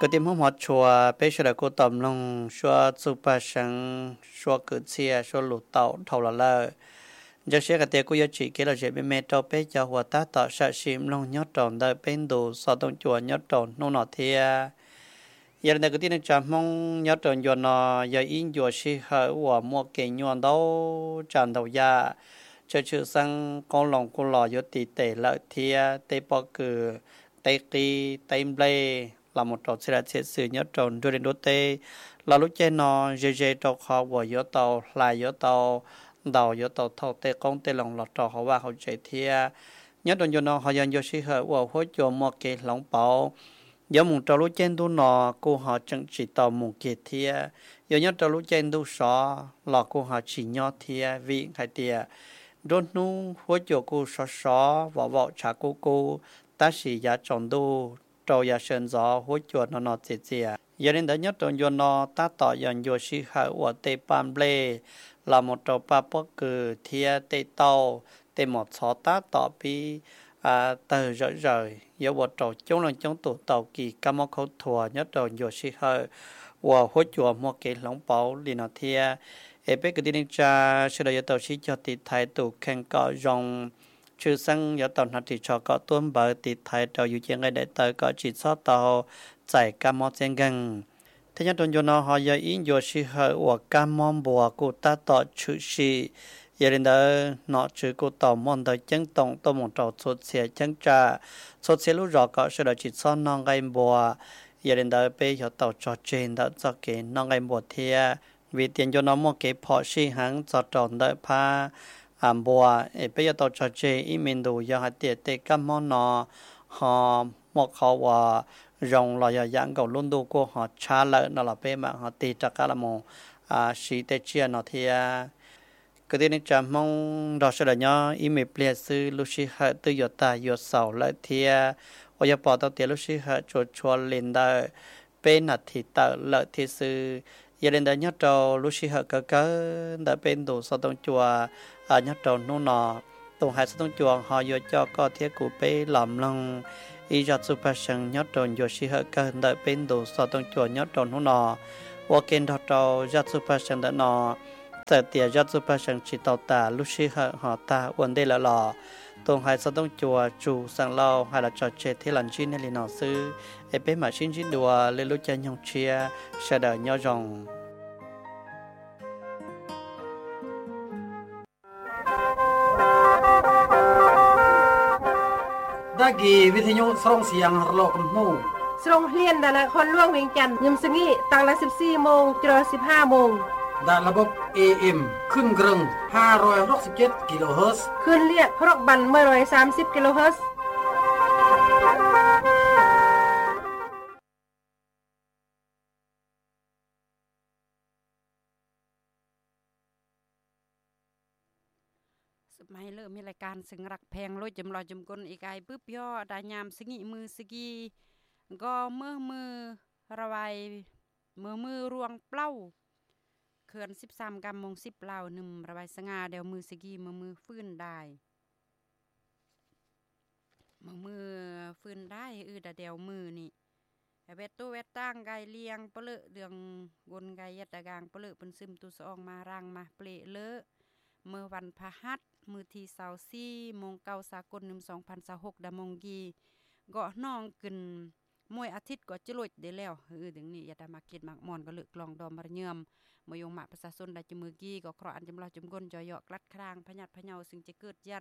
Gửi tin hóm hót chua pé sơ đa cô tòm lòng chua chu pa sâng chua cử chia chua lũ tàu thầu là lợ. Giang siết gà tia cô yo chỉ kế là dễ mê mê trâu pé cho hùa tá tọ sạ sim lòng nhớ trầu đợi pé đủ so tông chùa nhớ trầu nô nọ thiê. Yà lê ndơ gửi tin nâng trà mông nhớ trầu nchua nò, yà ý nchua si hợ ua mua kế nchua đau trà đau yà. Chơ chư sâng công lòng cô lò yo tì tể lợ thiê, tê po cử, tê ký, tê mblê. Là một trầu chia sẻ sự nhớ trầu đua đến đua tê. Là lúc che no, dê dê trầu khó của yo tàu, là yo tàu, đào yo tàu thâu tê công tê lòng lọt trầu khó va hậu chế thiê. Nhớ trầu yo no họ dần yo si hở của hố chùa mua kế lòng páo. Yo mùng trầu lúc che đu no, cô họ chẳng chỉ tàu mùng kia thiê. Yo nhớ trầu lúc che đu so, lọ cô họ chỉ nho thiê, vị khai tiê. Đốt nú, hố chùa cô so so, vỏ vỏ trà cô cô, tá sĩ giá trầu đu, trầu yà sân gió hố chùa no no chia chia. Yà nên đỡ nhất trầu nchua no tá tọ yòn nchua si hở ua tê pam blê, là một trầu pa pó cử thiê tê tàu, tê mỏ chó tá tọ pí, à, tờ dở dở, yớ ua trầu chống lòng chống tụ tàu kỳ cá mó khấu thùa nhất trầu nchua si hở, ua hố chùa mua kế lòng páo lì no thiê. Ê pê cử đi ninh tra, sư đòi yớ tàu si cho tị thái tụ khen cọ dòng, Chư sâng yó tàu nọ thì cho có tuôn bờ tịt thái trầu yu chiên ngay đại tờ có chỉ sót tàu chảy cá mó chén găng. Thế nhớ trong chùa nó họ yó ý chùa sư hở ua cá mó bùa cụ ta tọ chữ sĩ. Yó lên đỡ nọ chữ cụ tàu môn đỡ chấn tổng tô môn trầu sốt xìa chấn trà. Sốt xìa lũ gió có sư đòi chỉ sót non gây bùa. Yó lên đỡ bê yó tàu cho trên đỡ cho kế non gây bùa thiê. Vì tiền cho nó mua kế phọ si hắng cho tròn đỡ phá, à, bùa, ê, bê yó tàu cho chê ý mình đủ yó hạt tiệt tê cắp món nó, họ mua khó ua rồng lò yó dãng gầu lún đu cô họ chá lợ nó lò bê mạng họ tì trà cá là mù, à, sí tê chia nó thiê. Cứ tê nên chả mong đo sơ đỏ nhó, ý mê pliê sư, lũ si hợ tư yó ta yó sầu lợ thiê. Ua yó bỏ tàu tiệt lũ si hợ chua chua lên đỡ, pê nà thì tợ lợ thi sư, yơ lên đỡ nhớ trầu lũ si hợ cớ cớ, đỡ pê đủ so tông chùa, à, nhớ trầu nú nọ. Tông hai so tông chùa họ yua cho co thiê cú pê lòm lòng. Ý giọt su pa sân nhớ trầu yua si hợ cớ đỡ pê đủ so tông chùa nhớ trầu nú nọ. Ua kênh đo trầu giọt su pa sân đỡ nọ. Tơ tiê giọt su pa sân chỉ tàu tả lũ si hợ họ ta uôn đê lợ lọ. Tông hai so tông chùa chủ sân lâu hai là trò chê thiê lòn chi nên lì nọ sư. Ê pê mã xin dít đùa, lê lũ cha nhông chia, sa đờ nho dòng. Đa ghi vi thi nhũ srong siang rlo km hmu. Srong hlien đa na khon luông Viêng Chăn, nhâm snghi, tăng đa sip si mông, chro sip ha mông. Đa la bốc A M, khưn grơng, ha roi hrok sip chet kilohertz. Khưn liêt, hrok băn, mơ roi sam sip kilohertz. ສະໄໝເລີ່ມມີລາຍການເຊິ່ງຮັກແພງໂລຍຈຳລອຍຈຳກົນອີກອາຍບຶບຍໍດາຍາມສະຫງິມືສະກີ ກໍເມື່ອມືລະໄວ ເມື່ອມືລວງເປົ່າ ເຂື່ອນສິບສາມກຳມົງສິບລາວໜຶ່ມລະໄວສະຫງ່າແດວມືສະກີເມື່ອມືຟື້ນດາຍ ເມື່ອມືຟື້ນດາຍ ອືດາແດວມືນີ້ ແວດໂຕແວດຕ່າງກາຍລຽງປະເລີເດືອງ ກົນກາຍຍັດຕະກາງປະເລີປຶນຊຶມຕຸສະອອງມາຣາງມາເປເລີ ເມື່ອວັນພະຫັດ ມື້ທີຊາວສີ່ ໂມງເກົ້າສາກົນ ໜຶ່ງສອງພັນຊາວຫົກ ດາມົງກີ ເກາະໜອງຂຶ້ນ ມວຍອາທິດກໍຈະລົດໄດ້ແລ້ວ ເອີ ດຶງນີ້ ຢ່າໄດ້ມາຄິດມາມ່ອນ ກໍເລີກລອງດອມມາເຍີມ ມາຍົງມະປະຊາຊົນໄດ້ຈະມືກີ ກໍເຄາະອັນຈຳລອດຈຳກົນ ຈອຍເຍາະ ກລັດຄລາງ ພະຍາດພະເຍົາ ຊຶ່ງຈະເກີດຢາ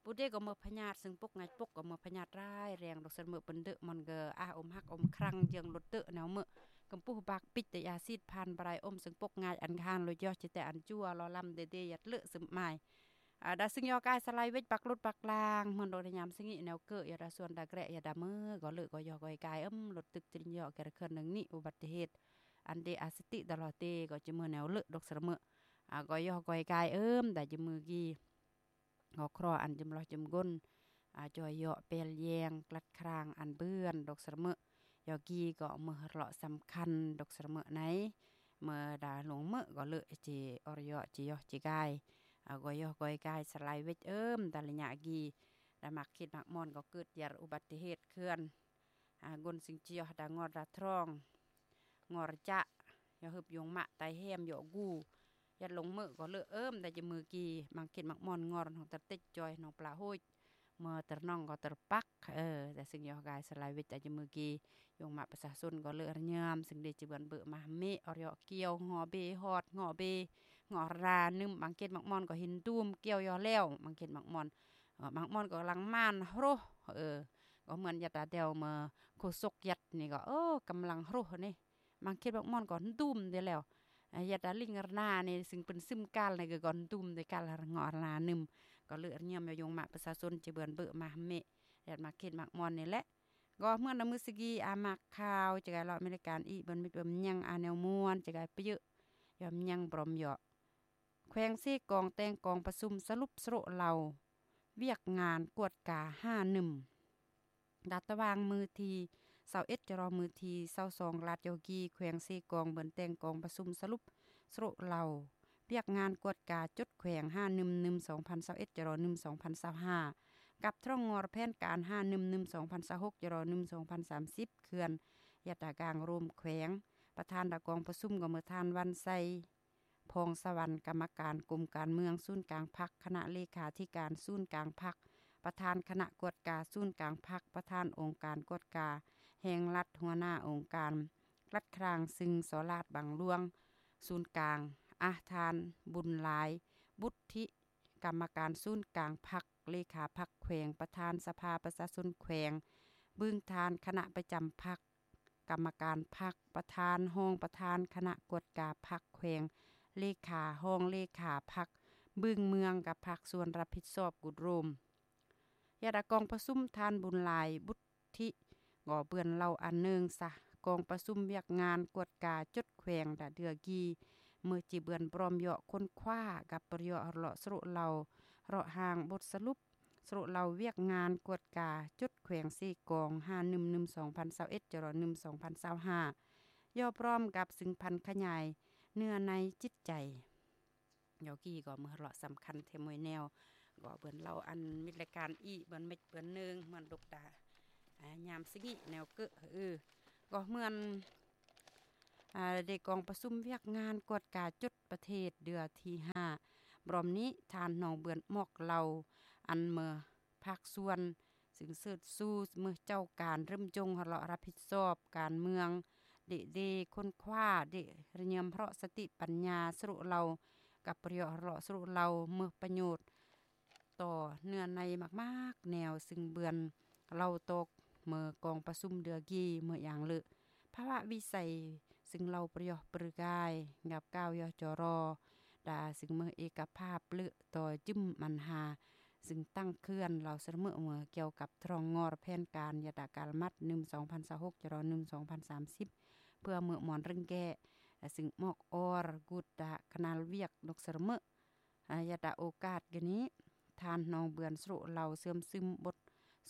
ຜູ້ໃດກໍເມີພະຍາດ ຊຶ່ງປົກງ່າຍປົກກໍເມີພະຍາດຮ້າຍແຮງ ດອກສະເມີເປັນເດີ ມັນກໍອາອົມຮັກອົມຄລັງ ເຢືອງລົດເຕີແນວເມີ ກຳປຸບາກປິດແຕ່ຢາຊີດ ຜ່ານບາຍອົມ ຊຶ່ງປົກງ່າຍອັນຄານ ໂລຍຢອກຈະແຕ່ອັນຈົວ ລໍລຳເດເດ ຍັດເລີະຊຶມມາຍ ອາ ດາຊຶງຍໍກາຍສະໄລເວັດປັກລົດປັກລາງ ເໝືອນໂດຍຍາມສະຫງິແນວເກີຍ ດາສວນດາແກຣະ ຍາດາເມີ ກໍເລີກກໍຢອກກໍກາຍ ເອີມລົດຕຶກຈະຍອກແກຣະເຄື່ອນໜຶ່ງນີ້ ອຸບັດຕິເຫດ ອັນເດອາສະຕິດາລອເຕ ກໍຈະເມີແນວເລີກດອກສະເມີ ອາ ກໍຢອກກໍກາຍ ເອີມ ດາຈະມືກີ ກໍເຄາະອັນຈຳລອດຈຳກົນ ອາ ຈອຍເຍາະ ແປລແຍງ ກລັດຄລາງ ອັນເບືອນ ດອກສະເມີ ຢອກກີ ກໍເມີເລາະສຳຄັນ ດອກສະເມີໄນ ເມີດາຫຼວງເມີ ກໍເລີກເຈ ອອຣເຍາະ ເຈຢອກ ເຈກາຍ ອາ ກໍຢອກກໍກາຍ ສະໄລເວັດ ເອີມ ດາລະຍະກີ ດາມັກຄິດມັກມ່ອນ ກໍເກີດຢາດອຸບັດຕິເຫດເຄື່ອນ ອາ ກົນສິງຈຽວ ດາງອດ ດາທຣອງ ງໍຣະຈະ ຢໍຮຶບ ຢົງມະ ໄຕແຮມ ຢໍກູ ຍັດລົງເມີ ກໍເລີເອີມ ດາຈະມືກີ ມັງເຂດມັກມ່ອນ ງໍຣະນອງ ຕະເຕັກ ຈອຍ ນອງປລາໂຮຍ ເມີຕະນອງ ກໍຕະປັກ ເອີ ແຕ່ຊຶ່ງຢໍກາຍ ສະລາຍເວດ ດາຈະມືກີ ຢົງມະ ປະຊາຊົນ ກໍເລີອະຍາມ ຊຶ່ງເດຈະເບືອນເບີມາເມ ອອຍອກຽວ ງໍເບ ຮອດ ງໍເບ ງໍຣາ ນຶມ ມັງເຂດມັກມ່ອນ ກໍເຫັນດູມ ກ່ຽວຢໍແລ້ວ ມັງເຂດມັກມ່ອນ ເອີ ມັກມ່ອນກໍກຳລັງໝານໂຮ ເອີ ກໍເໝືອນຍາດຕາແດວເມີໂຄສົກຍັດນີ້ກໍ ເອີ ກຳລັງໂຮນີ້ ມັງເຂດບັກມ່ອນກໍດຸມເດແລ້ວ ຍາດຕາລິງຣະນານີ້ ຊຶ່ງເປັນຊຶມກາລນີ້ກໍ ກໍດຸມເດກາລເງາະຣະນານຶມ ກໍເລີຍຍາມຍອງມະປະຊາຊົນຈະເບືອນເບີມາເມ ຍາດມາເຂດມັກມ່ອນນີ້ແຫຼະ ກໍເໝືອນນຳມືສະກີອາມັກຂ່າວ ຈະກາຍເລາະອາເມລິກັນອີກເບິ່ນມິດເບິ່ນຍັງອາແນວມ່ວນ ຈະກາຍປະເຍີ້ຍອມຍັງບຣອມເຍາະ ແຂວງເຊກອງແຕ່ງກອງປະຊຸມສະຫຼຸບສະໂລະເລົ່າວຽກງານກວດກາຫ້າໜຶ່ມ ດາດຕະຫວ່າງມື້ທີຊາວເອັດ ຈະລໍມື້ທີຊາວສອງ ລາດຢໍກີ ແຂວງເຊກອງ ເບິ່ນແຕ່ງກອງປະຊຸມສະຫຼຸບສະໂລະເລົ່າວຽກງານກວດກາຈົດແຂວງຫ້າໜຶ່ມ ໜຶ່ມ ສອງພັນຊາວເອັດ ຈະລໍໜຶ່ມ ສອງພັນຊາວຫ້າ ກັບທ້ອງງໍແຜນການຫ້າໜຶ່ມ ໜຶ່ມ ສອງພັນຊາວຫົກ ຈະລໍໜຶ່ງ ສອງພັນສາມສິບ ເຂື່ອນ ຍາດຕາກາງໂຮມແຂວງ ປະທານດາກອງປະຊຸມກໍເໝືອທ່ານ ວັນໄຊ ພອງສະຫວັນ ກຳມະການກົມການເມືອງສູນກາງພັກ ຄະນະເລຂາທິການສູນກາງພັກ ປະທານຄະນະກວດກາສູນກາງພັກ ປະທານອົງການກວດກາແຫ່ງລັດ ຫົວໜ້າອົງການລັດຄລາງ ຊຶ່ງ ສ ລາດ ບັງຫຼວງ ສູນກາງ ອາ ທ່ານ ບຸນຫຼາຍ ບຸດທິ ກຳມະການສູນກາງພັກ ເລຂາພັກແຂວງ ປະທານສະພາປະຊາຊົນແຂວງ ບຶງທານ ຄະນະປະຈຳພັກ ກຳມະການພັກ ປະທານ ຮອງປະທານຄະນະກວດກາພັກແຂວງ ເລຂາ ຮອງເລຂາພັກ ບຶງເມືອງ ກັບພາກສ່ວນຮັບຜິດຊອບກຸດໂຮມ ຍາດຕາກອງປະຊຸມ ທ່ານ ບຸນຫຼາຍ ບຸດທິ ກໍເບືອນເລົ່າອັນເນີງສະ ກອງປະຊຸມວຽກງານກວດກາຈົດແຂວງ ດາເດືອກີ ເມີຈິເບືອນບຣອມເຍາະຄົ້ນຄວ້າ ກັບປະເຍາະເລາະສະໂລະເລົ່າ ເລາະຮ່າງບົດສະຫຼຸບ ສະໂລະເລົ່າວຽກງານກວດກາຈົດແຂວງເຊກອງ ຫ້າໜຶ່ມ ໜຶ່ມ ສອງພັນຊາວເອັດ ຈະລໍໜຶ່ງ ສອງພັນຊາວຫ້າ ຢ່ອບພ້ອມກັບຊຶ່ງຜັນຂະຫຍາຍເນື້ອໃນຈິດໃຈ ຢໍກີກໍເມືອເລາະສຳຄັນແທ້ມວຍແນວ ກໍເບິ່ນເລົ່າອັນມິດລາຍການອີກເບິ່ນເມັດເບິ່ນເນີງ ເໝືອນດົກດາ ອາ ຍາມສະກິແນວເກີ ເອີ ກໍເໝືອນ ອາ ໄດ້ກອງປະຊຸມວຽກງານກວດກາຈົດປະເທດເທື່ອທີຫ້າ ບຣອມນີ້ ທ່ານ ໜອງເບືອນ ມອກເລົ່າ ອັນເມີພາກສ່ວນ ຊຶ່ງເຊີດຊູເມີເຈົ້າການເລີ່ມຈົງເລາະຮັບຜິດຊອບການເມືອງ ເດເດ ຄົ້ນຄວ້າ ເດລະຍຳເລາະສະຕິປັນຍາສະໂລະເລົ່າ ກັບປະໂຫຍດເລາະສະໂລະເລົ່າ ເມີປະໂຫຍດ ຕໍ່ເນື້ອໃນມາກໆແນວ ຊຶ່ງເບືອນເລົ່າຕອກເມີກອງປະຊຸມເດືອກີເມີຢ່າງເລີ ພາວະວິໄສ ຊຶ່ງເລົ່າປະໂຫຍດປຶກາຍ ກັບກ່າວຢໍຈໍລໍ ດາ ຊຶ່ງເມີເອກະພາບເລີຕໍ່ຈຶ່ມບັນຫາ ຊຶ່ງຕັ້ງເຂື່ອນເລົ່າສະເໝີເມີກ່ຽວກັບທ້ອງງໍແຜນການ ຍາດຕາກາລະມັດ ໜຶ່ງ ສອງພັນຊາວຫົກ ຈະລໍໜຶ່ງ ສອງພັນສາມສິບ ເພື່ອເມີໝອນເລັ່ງແກ້ ຊຶ່ງມອກອອຣ ກຸດຕະຄະນາວຽກນົກສະເໝີ ອາ ຍາດຕາໂອກາດກະນີ້ ທ່ານ ໜອງເບືອນ ສະໂລະເລົ່າເຊື່ອມຊຶມບົດ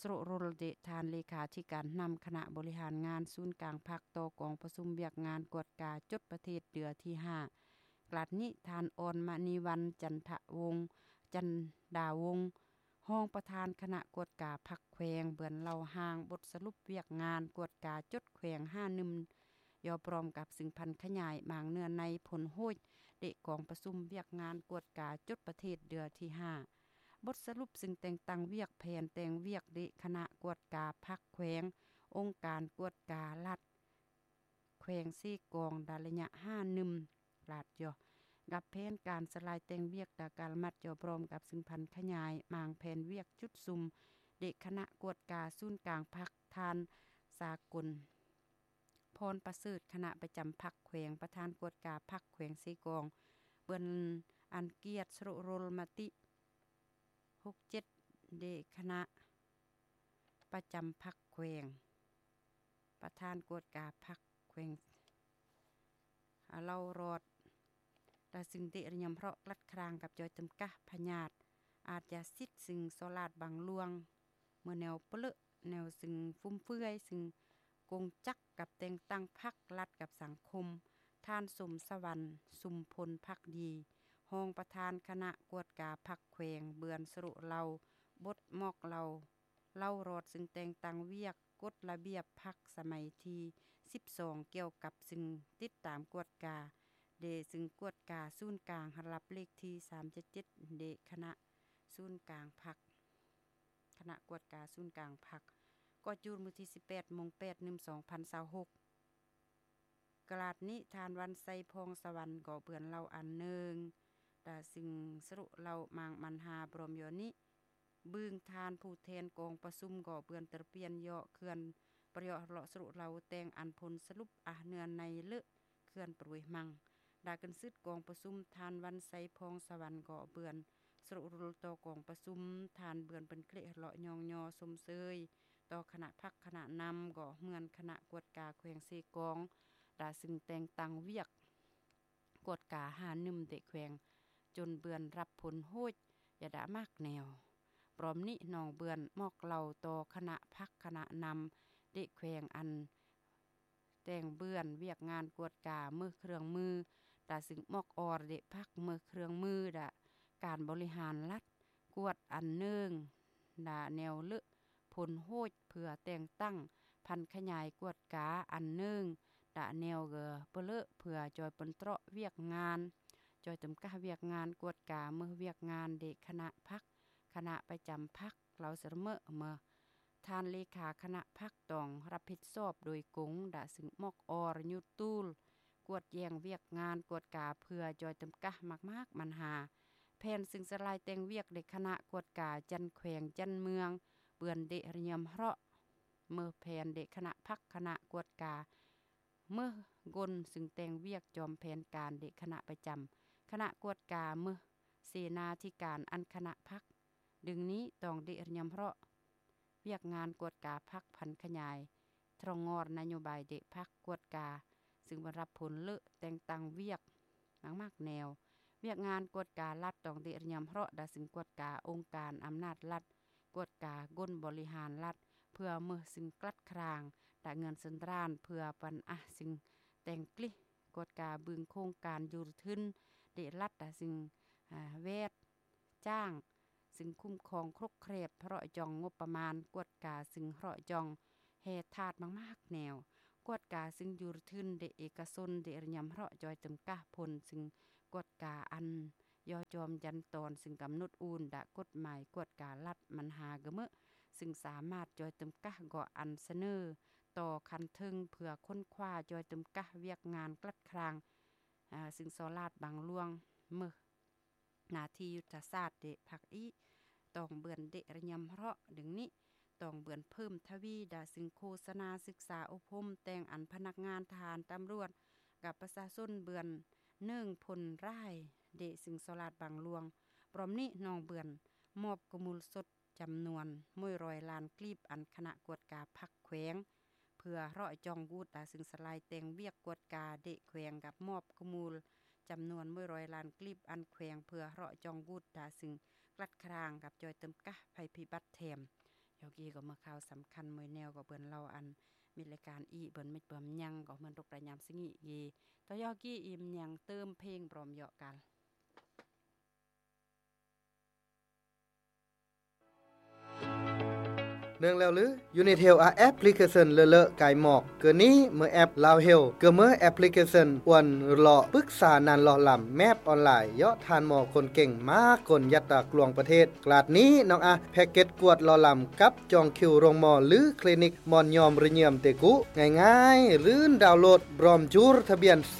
ສະໂລະໂຣລ ເດ ທ່ານເລຂາທິການນຳຄະນະບໍລິຫານງານສູນກາງພັກຕໍ່ກອງປະຊຸມວຽກງານກວດກາຈົດປະເທດເທື່ອທີຫ້າ ກະລາດນີ້ ທ່ານ ອອນມະນີວັນ ຈັນທະວົງ ຈັນດາວົງ ຮອງປະທານຄະນະກວດກາພັກແຂວງ ເບືອນເລົ່າຮ່າງບົດສະຫຼຸບວຽກງານກວດກາຈົດແຂວງຫ້າໜຶ່ມ ຢ່ອບພ້ອມກັບຊຶ່ງຜັນຂະຫຍາຍບາງເນື້ອໃນຜົນໂຫດ ເດກອງປະຊຸມວຽກງານກວດກາຈົດປະເທດເທື່ອທີຫ້າ ບົດສະຫຼຸບຊຶ່ງແຕ່ງຕັ້ງວຽກແຜນແຕ່ງວຽກ ເດຄະນະກວດກາພັກແຂວງ ອົງການກວດກາລັດ ແຂວງເຊກອງ ດາໄລຍະຫ້າໜຶ່ມ ລາດຢໍ ກັບແຜນການສະລາຍແຕ່ງວຽກ ດາກາລະມັດ ຢ່ອບພ້ອມກັບຊຶ່ງຜັນຂະຫຍາຍມາງແຜນວຽກຈຸດສຸມ ເດຄະນະກວດກາສູນກາງພັກ ທ່ານ ສາກົນ ພອນປະເສີດ ຄະນະປະຈຳພັກແຂວງ ປະທານກວດກາພັກແຂວງເຊກອງ ເບືອນອັນກຽດ ສະໂຣໂຣລມະຕິ ຫົກເຈັດ ເດຄະນະປະຈຳພັກແຂວງ ປະທານກວດກາພັກແຂວງ ອາ ເລົ່າຣອດ ຕາຊຶງເຕະ ລະຍຳເພາະ ກລັດຄລາງກັບຈອຍຈຳກະພະຍາດ ອາດຢາສິດ ຊຶ່ງສໍລາດບັງຫຼວງ ເມື່ອແນວປະເລີະ ແນວຊຶ່ງຟຸມເຟືອຍ ຊຶ່ງກົງຈັກກັບແຕ່ງຕັ້ງພັກລັດກັບສັງຄົມ ທ່ານ ສົມສະຫວັນ ຊຸມພົນພັກດີ ຮອງປະທານຄະນະກວດກາພັກແຂວງ ເບືອນສະໂຣເລົ່າ ບົດມອກເລົ່າ ເລົ່າຮອດ ຊຶ່ງແຕ່ງຕັ້ງວຽກກົດລະບຽບພັກສະໄໝທີສິບສອງ ກ່ຽວກັບຊຶ່ງຕິດຕາມກວດກາ ແລະ ຊຶ່ງກວດກາສູນກາງ ລະດັບເລກທີສາມເຈັດເຈັດ ແລະ ຄະນະສູນກາງພັກ ຄະນະກວດກາສູນກາງພັກ ກໍຈູດມື້ທີສິບແປດ ມົງແປດ ໜຶ່ງ ສອງພັນຊາວຫົກ ກະລາດນີ້ ທ່ານ ວັນໄຊ ພອງສະຫວັນ ກໍເບືອນເລົ່າອັນໜຶ່ງ ຕາຊຶ່ງສະລຸເລົ່າມາງມັນຫາ ບຣອມຢໍນີ້ ບຶງທ່ານຜູ້ແທນກອງປະຊຸມ ກໍເບືອນຕະປຽນຢໍເຂື່ອນ ປະຢໍເລາະສະລຸເລົ່າແຕ່ງອັນຜົນສະຫຼຸບອາເນື້ອໃນເລອະ ເຂື່ອນປຣວຍມັງ ດາກຶນຊືດກອງປະຊຸມ ທ່ານ ວັນໄຊ ພອງສະຫວັນ ກໍເບືອນສະລຸລຸລຕໍ່ກອງປະຊຸມ ທ່ານເບືອນເປັນເກລະເລາະຍ້ອງຍໍຊົມເຊີຍ ຕໍ່ຄະນະພັກຄະນະນຳ ກໍເໝືອນຄະນະກວດກາແຂວງເຊກອງ ດາຊຶ່ງແຕ່ງຕັ້ງວຽກກວດກາຫາໜຶ່ມເດະແຂວງ ຈົນເບືອນຮັບຜົນໂຫດ ຢາດາມາກແນວ ບຣອມນີ້ ນ້ອງເບືອນມອກເລົ່າຕໍ່ຄະນະພັກຄະນະນຳເດະແຂວງ ອັນແຕ່ງເບືອນວຽກງານກວດກາເມືອເຄື່ອງມື ດາຊຶ່ງມອກອອເດະພັກເມືອເຄື່ອງມື ດາການບໍລິຫານລັດ ກວດອັນໜຶ່ງ ດາແນວເລອະຜົນໂຫດ ເພື່ອແຕ່ງຕັ້ງຜັນຂະຫຍາຍກວດກາອັນໜຶ່ງ ດາແນວເລອເປິເລອ ເພື່ອຈ່ອຍປົນເຕາະວຽກງານ ຈ່ອຍຈຳກັດວຽກງານກວດກາເມືອວຽກງານເດະຄະນະພັກ ຄະນະປະຈຳພັກ ເລົ່າສະເໝີເມືອ ທ່ານເລຂາຄະນະພັກຕ້ອງຮັບຜິດຊອບໂດຍກົງ ດາຊຶ່ງມອກອອນຍຸດຕູລ ກວດແຍງວຽກງານກວດກາເພື່ອຈ່ອຍຈຳກັດໝາກໆບັນຫາ ແຜນຊຶ່ງສະລາຍແຕ່ງວຽກເດະຄະນະກວດກາຈັນແຂວງຈັນເມືອງ ເບືອນເດະລະຍຳເຮາະ ເມືອແຜນເດະຄະນະພັກຄະນະກວດກາ ເມືອກົນຊຶ່ງແຕ່ງວຽກຈອມແຜນການເດະຄະນະປະຈຳ ຄະນະກວດກາເມືອເສນາທິການອັນຄະນະພັກ ດຶງນີ້ຕ້ອງເດະລະຍຳເຮາະ ວຽກງານກວດກາພັກຜັນຂະຫຍາຍ ທຣອງງອນນະໂຍບາຍເດະພັກກວດກາ ຊຶ່ງບັນຮັບຜົນເລອແຕ່ງຕັ້ງວຽກມາກໆແນວ ວຽກງານກວດກາລັດຕ້ອງເດະລະຍຳເຮາະ ດາລຶ່ງກວດກາອົງການອຳນາດລັດ ກວດກາກົນບໍລິຫານລັດ ເພື່ອເມີ່ອສິ່ງກລັດຄລາງ ດາເງິນເຊິນດຣານ ເພື່ອປັນອາສິ່ງແຕ່ງກລິ ກວດກາບຶງໂຄງການຢູຣທຶນເດະລັດ ດາສິ່ງ ອາ ແວດ ຈ້າງ ຊຶ່ງຄຸ້ມຄອງຄົກແຄບ ເພາະຈ່ອງງົບປະມານ ກວດກາຊຶ່ງເພາະຈ່ອງແຮ່ທາດມາກໆແນວ ກວດກາຊຶ່ງຢູຣທຶນເດເອກະຊົນ ເດລະຍຳເພາະຈ່ອຍຈຳກັດຜົນ ຊຶ່ງກວດກາອັນຍໍຈອມຢັນຕອນ ຊຶ່ງກຳນົດອູນດາກົດໝາຍກວດກາລັດມັນຫາກະເມີ່ ຊຶ່ງສາມາດຈ່ອຍຈຳກັດກໍອັນສະເໜີຕໍ່ຂັ້ນເທິງ ເພື່ອຄົ້ນຄວ້າຈ່ອຍຈຳກັດວຽກງານກລັດຄລາງ ອາ ຊຶ່ງສໍລາດບັງຫຼວງເມີ່ ໜ້າທີ່ຍຸດທະສາດເດະພັກອີ ຕ້ອງເບືອນເດະລະຍຳເພາະ ດຶງນີ້ ຕ້ອງເບືອນເພີ່ມທະວີ ດາຊຶ່ງໂຄສະນາສຶກສາອົບຮົມ ແຕ່ງອັນພະນັກງານທະຫານຕຳຫຼວດ ກັບປະຊາຊົນເບືອນເນີງພົນລາຍ ເດະຊຶ່ງສໍລາດບັງຫຼວງ ພ້ອມນີ້ນ້ອງເບືອນມອບກະມູນສົດ ຈຳນວນໜຶ່ງຮ້ອຍລ້ານກີບ ອັນຄະນະກວດກາພັກແຂວງ ເພື່ອເພາະຈ່ອງວຸດ ດາຊຶ່ງສະລາຍແຕ່ງວຽກກວດກາເດະແຂວງ ກັບມອບກະມູນຈຳນວນໜຶ່ງຮ້ອຍລ້ານກີບ ອັນແຂວງເພື່ອເພາະຈ່ອງວຸດ ດາຊຶ່ງກລັດຄລາງກັບຈ່ອຍເຕີມກະໄພພິບັດແຖມ ຍອກກີກໍເມືອຂ່າວສຳຄັນ ມວຍແນວກໍເບືອນເລົ່າອັນມີລາຍການອີເບືອນມິດເບືອນຍັງ ກໍເໝືອນຕົກລະຍາມສະຫງິກເຢ ຕໍ່ຍອກກີອີມຍັງເຕີມເພງບຣອມເຍາະກັນ. ເນື່ອງແລ້ວຫຼື ຢູນິດເຮວອາແອັບພລິເຄຊັນເລີເລີກາຍໝອກ ເກີນນີ້ເມື່ອແອັບລາວເຮວ ເກີເມື່ອແອັບພລິເຄຊັນອວນຫຼໍ້ປຶກສານານຫຼໍ່ລຳແມບອອນລາຍ ເຍາະທ່ານໝໍຄົນເກັ່ງມາກົນຍັດຕາກລວງປະເທດ ກລາດນີ້ນ້ອງອາແພັກເກັດກວດຫຼໍ່ລຳກັບຈອງຄິວໂຮງໝໍ ຫຼື ຄລີນິກໝອນຍອມລະຍຽມເຕກຸ ງ່າຍໆ ລື່ນດາວໂຫຼດບຣອມຈູລທະບຽນເຊ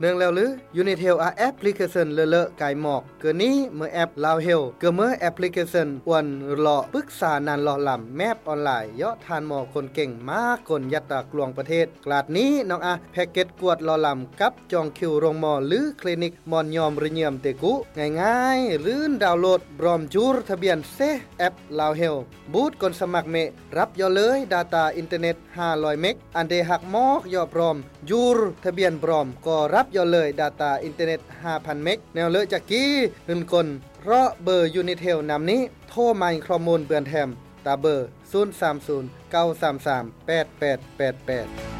ເນື່ອງແລ້ວຫຼື ຢູນິດເຮວອາແອັບພລິເຄຊັນເລີເລີກາຍໝອກ ເກີນນີ້ເມື່ອແອັບລາວເຮວ ເກີເມື່ອແອັບພລິເຄຊັນອວນຫຼໍ້ປຶກສານານຫຼໍ່ລຳແມບອອນລາຍ ເຍາະທ່ານໝໍຄົນເກັ່ງມາກົນຍັດຕາກລວງປະເທດ ກລາດນີ້ນ້ອງອາແພັກເກັດກວດຫຼໍ່ລຳກັບຈອງຄິວໂຮງໝໍ ຫຼື ຄລີນິກໝອນຍອມລະຍຽມເຕກຸ ງ່າຍໆ ລື່ນດາວໂຫຼດບຣອມຈູລທະບຽນເຊ ແອັບລາວເຮວ ບູດກົນສະໝັກເມ ຮັບເຍາະເລີຍດາຕາອິນເຕີເນັດຫ້າຮ້ອຍເມັກ ອັນເດຮັກມອກເຍາະບຣອມ ຈູລທະບຽນບຣອມ ກໍຮັບເຍາະເລີຍດາຕາອິນເຕີເນັດຫ້າພັນເມັກ ແນວເລີຍຈະກີ ເງິນກົນ ເພາະເບີຢູນິດເຮວນຳນີ້ ໂທໝາຍຂໍ້ມູນເບືອນແຖມ ຕາເບີ ສູນສາມສູນ ເກົ້າສາມສາມ ແປດແປດແປດແປດ.